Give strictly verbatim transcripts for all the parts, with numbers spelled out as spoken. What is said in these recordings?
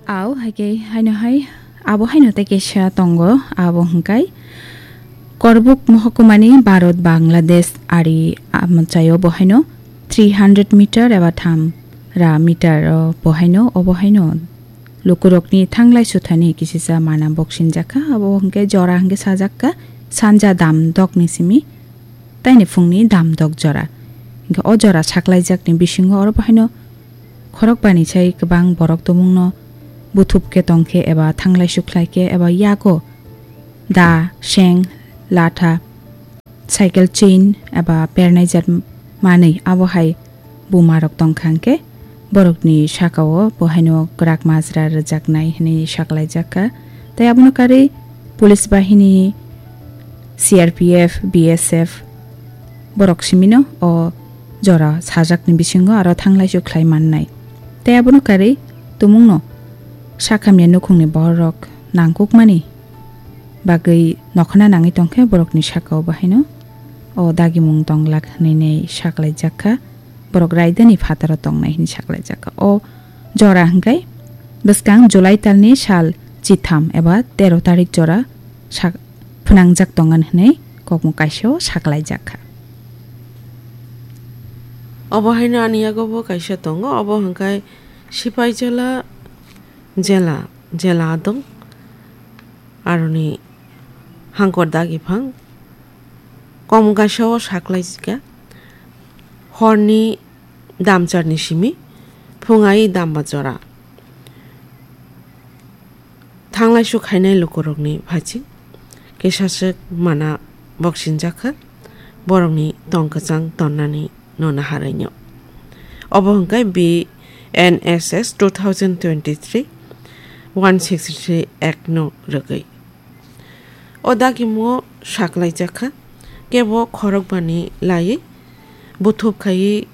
Au, hai khe haino hai, abo haino tei kaisa tongo, abo hwnkhe Korbuk mohokuma ni Bharat Bangladesh ari amchaio bo haino three hundred meter eba tham ra meter o bo haino, obo haino lukurokni thanglai suthani kisisa mana boksinjakha, abo hwnkhe jora hwnkhe sajakka sanja dam dokni simi, taini phungni dam dok jora. Hwnkhe o jora saklaijakni bisingo oro bo haino khorokbani sai kwbang borok tumungno buthup khe tong khe eba thanglai sukhlai khe eba yago da, seng, latha, cycle chain eba pernaijak manwi abo hai bumarok tong kha hwnkhe borokni sakao bo haino kwrak majra rwjaknai hwnwi saklaijak kha. Tei abono karwi police bahini, C R P F, B S F borok simino o jora sajakni bisingo aro thanglai sukhlai mannai. Tei abono karwi tumungno sakhamya nukhungni borok nangkukmani bagwi nokhna nangwi tongkhe borokni sakao bahaino o dagimung tonglak hwnwi saklaijak kha, borok raidani phataro tongnai hwnwi saklaijak kha. O jora hwnkhe bwskang July talni sal chitham eba tero tarik jora sak-, phwnangjak tongan hwnwi kokmung kaisao saklaijak kha. Obo haino ani yago bo kaisa tongo, obo hwnkhe Sipaijala jela, jela adong aroni hangkor dagi phang kom kaisa o saklaijika horni damcharni simi phungai damba jora. Thanglai sukhainai lukurokni phachi kesaswk mana boksinjakha, borokni tong kwchang tonnani no naharaino. Obo hwnkhe B N S S two thousand twenty-three one sixty-three Act no rwgwi. O dagimungo saklaijakha, kebo khorokbani laiwi buthup khaiwi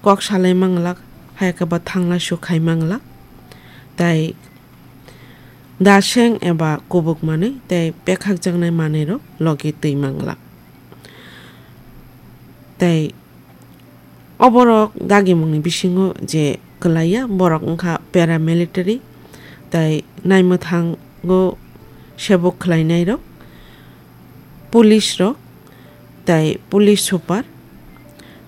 kok salai manglak, hai khe ba thanglai suk khai manglak, tei daseng eba kubuk manwi tei pekhakjaknai manwirok logi twi manglak. Tei oborok dagimungni bisingo je kwlaiya, borok wngkha paramilitary tei naimwthango sebuk khlainairok, police rok tei police super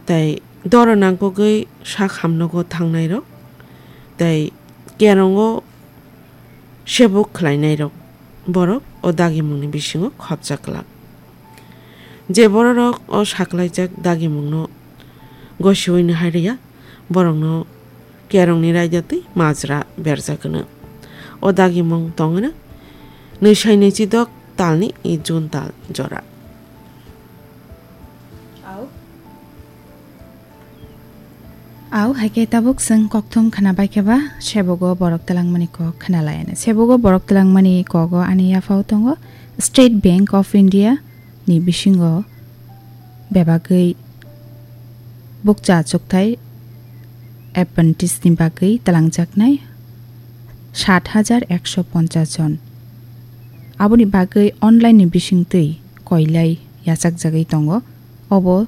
tei doro nangkukgwi sak hamnogo thangnairok tei kerongo sebuk khlainairok borok o dagimungni bisingo khopjak glak. Je bororok o saklaijak dagimungno gosiui nahai rwya, borokno kerongni raida twi majra berjak hwno. O dagimung tong hwno nwi sai nwi chidok talni i June tal jora. Au, hai khe tabuk chwng kokthum khna bai khe ba, sebogo borok twlangmani kok khna lai. Sebogo borok twlangmani kogo ani yaphao tongo State Bank of India ni bisingo bebagwi bukcha achukthai apprentice ni bagwi twlangjaknai sat hajar ekso ponchas jon. Aboni bagwi online ni bisingtwi koilai yachakjagwi tongo. Obo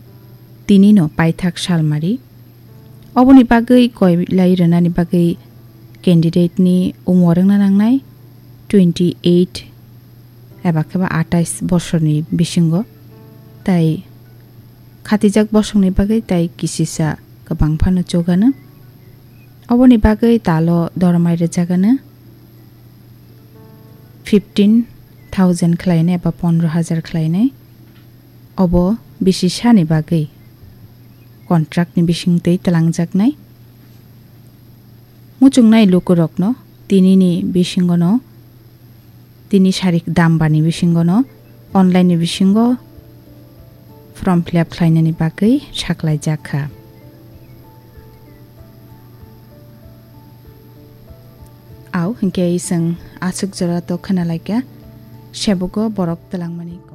tinino paithak salmari. Oboni bagwi koilai rwnani bagwi candidate ni umor wngna nangnai twenty eight eba khe ba atais bosorni bisingo, tai khatijak bosongni bagwi tai kisisa kwbang phano chugano. Oboni bagwi talo dormai rwjagano fifteen thousand khlainai eba pondro hajar khlainai. Obo bisi sani bagwi contract ni bisingtwi twlangjaknai. Muchungnai lukurokno tinini bisingono, tini sarik dambani bisingono online ni bisingo form fill up khlainani bagwi saklaijak kha. Au hinkhe chwng aswk jora to khna laikha, sebogo borok twlangmani.